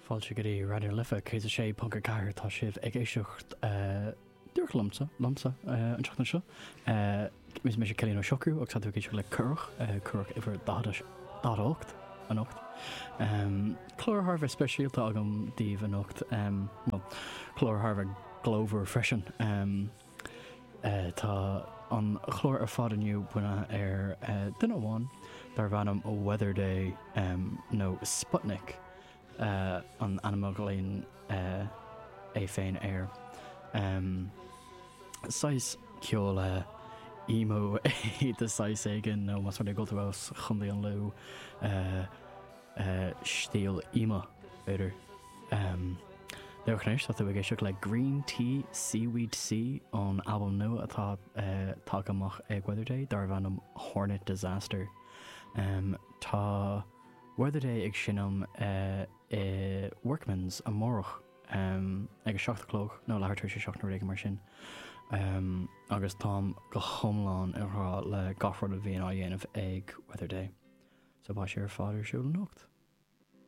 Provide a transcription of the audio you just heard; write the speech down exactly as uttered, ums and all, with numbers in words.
Fáilte go dtí Raidió na Life céad a sé ponc a ceathair tá sibh ag éisteacht díreach liomsa liomsa an tseachtain seo. Is mise Cillian Ó Siochrú agus tá tú ag éisteacht le Cuireadh Cuireadh uimhir daichead a hocht anocht. Clár thar a bheith speisialta agam daoibh anocht clár thar a bheith glórmhar freisin. Tá an clár ar fad inniu bunaithe ar duine amháin darb ainm Weatherday nó Sputnik. Uh, an ainm a ghlaonn uh, é féin air. Um, saghas ceol uh, emo é de saghas éigin nó más rud é go bhfuil tú as Chontae an Lú uh, uh, stíl emo b'fhéidir. Um, Leochnéis tá tú ag éisteacht le Green Tea Seaweed Sea ón albam nua atá uh, tagtha amach ag Weatherday darb ainm Hornet Disaster. Um, tá Weatherday ag seinm uh, i Workman's amárach um, ag a seacht a chlog nó leathuair tar éis a seacht nó rud mar sin. Um, agus táim go hiomlán i ngrá le gach rud a bhíonn á dhéanamh ag Weatherday. So beidh sé ar fad ar siúl anocht.